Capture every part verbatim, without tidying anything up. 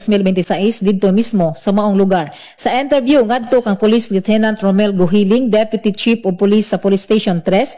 dalawampu't limang didto mismo sa maong lugar. Sa interview ngadto kang Police Lieutenant Romel Guhiling, Deputy Chief of Police sa Police Station three,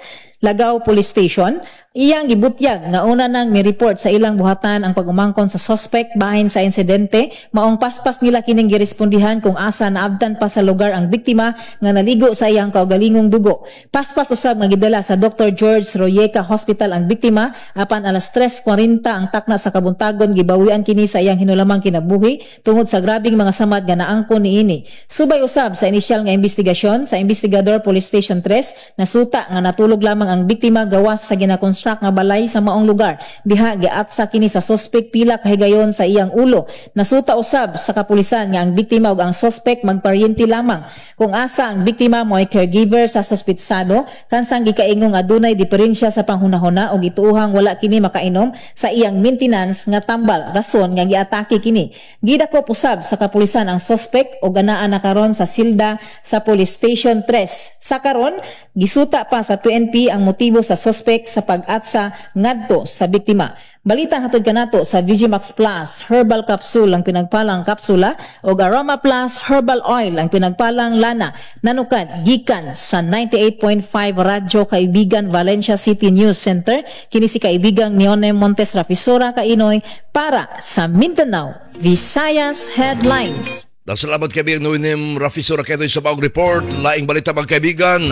Lagao Police Station, iyang gibutyag nga una nang mi-report sa ilang buhatan ang pag-umangkon sa suspect bahin sa insidente, maong paspas nila kining girespondihan kung asa naabtan pa sa lugar ang biktima nga naligo sa iyang kaugalingong dugo. Paspas usab nga gidala sa Doctor George Royeca Hospital ang biktima, apan alas tres kwarenta ang takna sa kabuntagon gibawian kini sa iyang hinulamang kinabuhi tungod sa grabing mga samad nga naangkon niini. Subay usab sa inisyal nga investigasyon sa investigador Police Station three, nasuta nga natulog lamang ang biktima gawas sa ginakonstruct nga balay sa maong lugar. Diha giatsa kini sa suspect pila kahigayon sa iyang ulo. Nasuta usab sa kapulisan nga ang biktima ug ang suspect magparyente lamang. Kung asa ang biktima mo ay caregiver sa suspitsado, kansang gikaingong adunay diferensya sa panghunahuna ug ituuhang wala kini makainom sa iyang maintenance nga tambal, rason nga giatake kini. Gidakop usab sa kapulisan ang suspect ug anaa na karon sa silda sa Police Station three. Sa karon, gisuta pa sa P N P ang motibo sa suspect sa pag-atsa ngadto sa biktima. Balita hatod kanato sa V G Max Plus Herbal Capsule, ang pinagpalang kapsula, ug Aroma Plus Herbal Oil, ang pinagpalang lana. Nanukad gikan sa ninety-eight point five Radyo Kaibigan Valencia City News Center, kini si kaibigang Neone Montes Rafisura Kainoy para sa Mindanao Visayas Headlines. Salamat, kaibigan Noenim Rafisura Kainoy, sa maong report. Laing balita, mga kaibigan.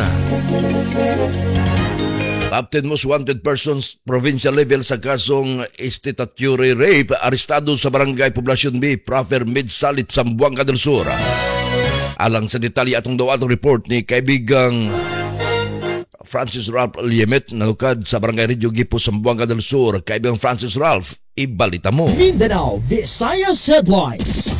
Top ten most wanted persons provincial level sa kasong statutory rape arestado sa Barangay Poblacion B, Proper Midsalip, Zamboanga del Sur. Alang sa detalye, atong daw atong report ni kaibigang Francis Ralph Liemet, nalukad sa Barangay Radio Gipo, Zamboanga del Sur. Kaibigang Francis Ralph, ibalita mo. Mindanao Visayas Headlines.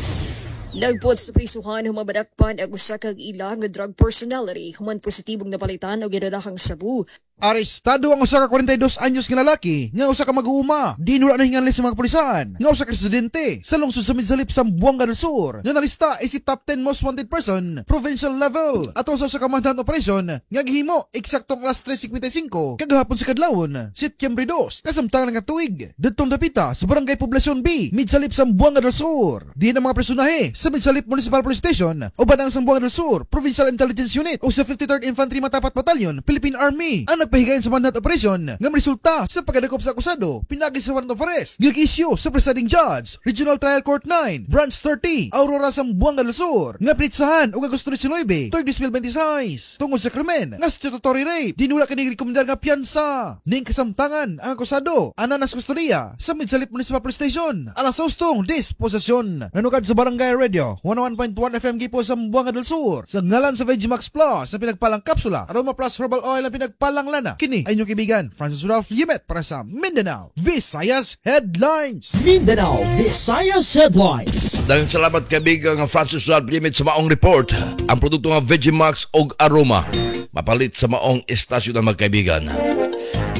Lagpot sa prisuhan human madakpan ang usa ka ila nga drug personality human positibong napalitan og gidalahang sabu. Arestado ang usa ka kwarenta y dos anyos nga lalaki nga usa ka mag-uuma. Di wala nahinganli sa mga kapulisan nga usa ka residente sa lungsod sa Midsalip, Zamboanga del Sur nga nalista isip top ten most wanted person provincial level atol sa usa ka manhunt operation nga gihimo eksaktong alas tres singkwenta y singko kagahapon sa kadlawon, Setyembre dos, kasamtangan nga tuig, didtong dapita sa Barangay Poblacion B, Midsalip, Zamboanga del Sur. Diin ang mga personahe sa Midsalip Municipal Police Station uban ang Zamboanga del Sur Provincial Intelligence Unit o sa fifty-third Infantry Matapat Battalion, Philippine Army ang nagpahigayon sa manhunt operation nga resulta sa pagkadakop sa akusado pinagi sa warrant of arrest nga issue sa presiding judge, Regional Trial Court nine, Branch thirty, Aurora, Zamboanga del Sur, nga pinitsahan og Agosto labing siyam tuig dalawampu't labing walo tungod sa krimen nga statutory rape. Dinula kini rekomendar nga piyansa. Ning kasamtangan, ang akusado ana nas kustodiya sa Midsalip Municipal Police Station alang sa ustong disposisyon. Nanukad sa Barangay Radio one oh one point one F M Gipo, Zamboanga del Sur, sa ngalan sa Vegimax Plus sa pinagpalang kapsula, Aroma Plus Herbal Oil ang pinagpalang lana, kini ay inyong kaibigan Francis Ralph Yimet para sa Mindanao Visayas Headlines. Mindanao Visayas Headlines. Daghang salamat, kaibigan Francis Ralph Limit, sa maong report. Ang produkto nga Vegimax og Aroma mapalit sa maong estasyon ng magkaibigan.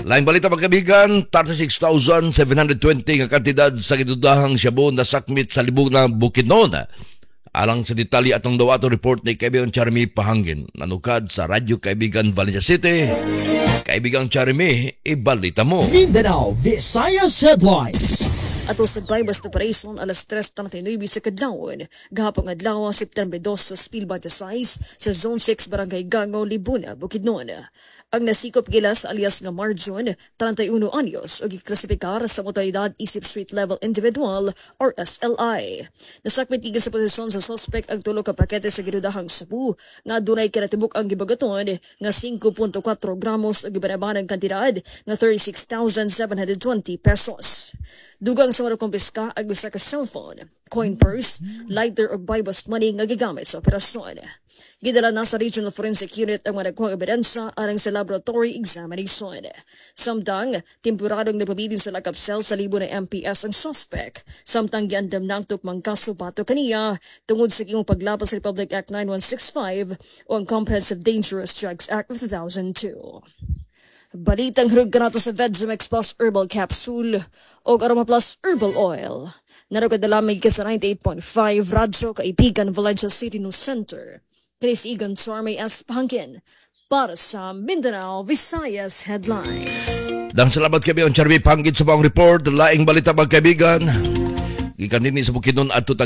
Laing balita, mga kaibigan, thirty-six thousand seven hundred twenty nga kantidad sa gidudahang shabu nasakmit sa Libuna, Bukidnon. Alang sa detalye, atong daw ato report ni kaibigan Charmy Pahangin, nanukad sa Radyo Kaibigan Valencia City. Kaibigang Charmy, ibalita mo. Mindanao Visayas Headlines. Ato sa buy-bust operation alas tres trenta y nuebe sa kadlawon gahapon adlaw, September two, sa dos mil six sa Zone six, Barangay Gango, Libuna, Bukidnon. Ang nasikop gilas alias nga Marjun, trenta y uno anyos, ug giklasifikar sa modalidad isip street level individual or S L I. Nasakmit gikan sa posisyon sa suspect ang tulo ka pakete sa gidudahang sabu nga adunay kinatibuk ang gibagaton nga five point four gramos ug gibanabanang kantidad nga thirty-six thousand seven hundred twenty pesos. Dugang sa mga kumpiska ang usa ka cellphone, coin purse, lighter ug buy-bust money nga gigamit sa operasyon. Gidala na sa Regional Forensic Unit ang mga nakuhang ebidensya alang sa laboratory examination. Samtang, temporaryong nagpabilin sa lockup cell sa Libuna M P S ang suspect. Samtang giandam na ang tukmang kaso batok kaniya tungod sa iyong paglapas sa Republic Act nine one six five o ang Comprehensive Dangerous Drugs Act of two thousand two. Balitang hurog kanato sa Vegimax Plus Herbal Capsule o Aroma Plus Herbal Oil. Narugad na lamang ka sa ninety-eight point five Radyo Kaibigan Valencia City News Center. Chris Egan Charmy S. Pangkin para sa Mindanao Visayas Headlines. Dang salamat kami ang Charmy Pangkin sa maong report. Laing balita, mga kaibigan. Gikan dinhi sa Bukidnon adto